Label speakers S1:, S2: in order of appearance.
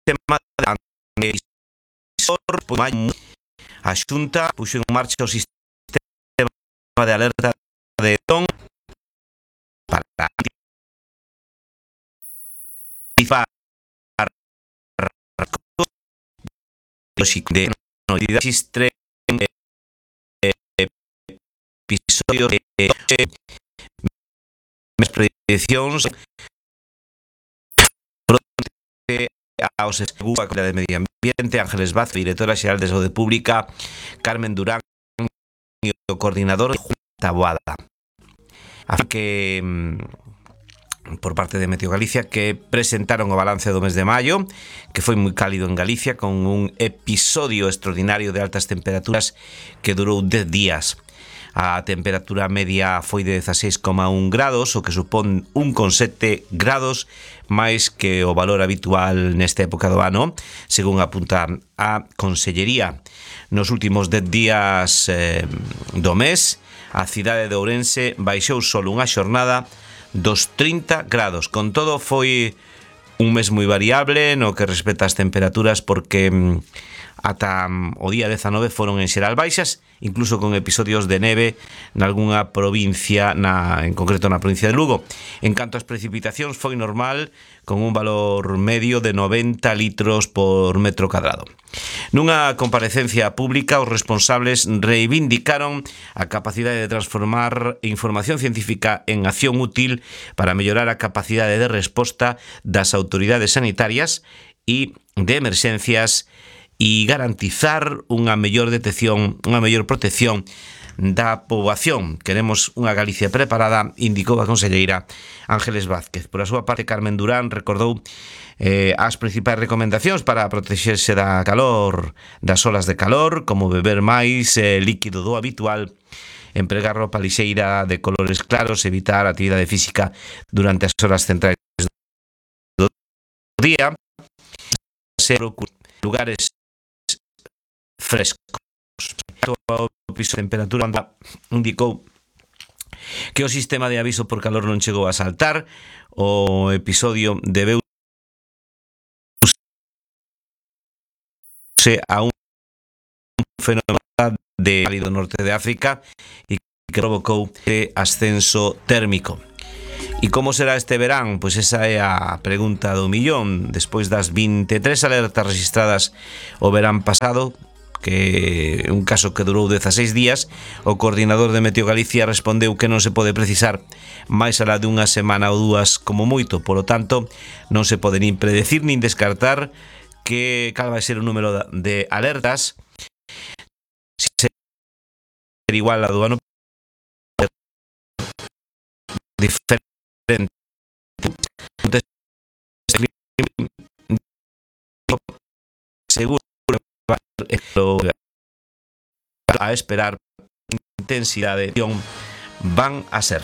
S1: tema de a Xunta puxo en marcha o sistema de alerta de ton para anticipar de novidades episodios de prediccións fronte aos seguros de Medio Ambiente, Ángeles Vázquez, directora xeral de Saúde Pública, Carmen Durán e o coordinador de Junta Boada. Así que por parte de Meteo Galicia, que presentaron o balance do mes de maio, que foi moi cálido en Galicia, con un episodio extraordinario de altas temperaturas que durou 10 días. A temperatura media foi de 16,1 grados, o que supón 1,7 grados máis que o valor habitual nesta época do ano, según apunta a Consellería. Nos últimos 10 días do mes, a cidade de Ourense baixou solo unha xornada dos 30 grados. Con todo, foi un mes moi variable no que respecta ás temperaturas, porque ata o día 19 foron en xeral baixas, incluso con episodios de neve nalgúna provincia, en concreto na provincia de Lugo. En canto ás precipitacións, foi normal, con un valor medio de 90 litros por metro cadrado. Nunha comparecencia pública, os responsables reivindicaron a capacidade de transformar información científica en acción útil para mellorar a capacidade de resposta das autoridades sanitarias e de emerxencias e garantizar unha mellor detección, unha mellor protección da poboación. Queremos unha Galicia preparada, indicou a conselleira Ángeles Vázquez. Por a súa parte, Carmen Durán recordou as principais recomendacións para protexerse da calor, das olas de calor, como beber máis líquido do habitual, empregar roupa lixeira de colores claros, evitar a actividade física durante as horas centrais do día, ser lugares frescos. O piso de temperatura indicou que o sistema de aviso por calor non chegou a saltar. O episodio debeuse a un fenómeno de cálido norte de África e que provocou ascenso térmico. E como será este verán? Pois esa é a pregunta do millón. Despois das 23 alertas registradas o verán pasado, que un caso que durou 16 días, o coordinador de Meteo Galicia respondeu que non se pode precisar máis alá de unha semana ou dúas como moito. Polo tanto, non se pode nin predecir nin descartar que cal vai ser o número de alertas, se ser igual a do ano diferente. Seguro a esperar intensidade van a ser.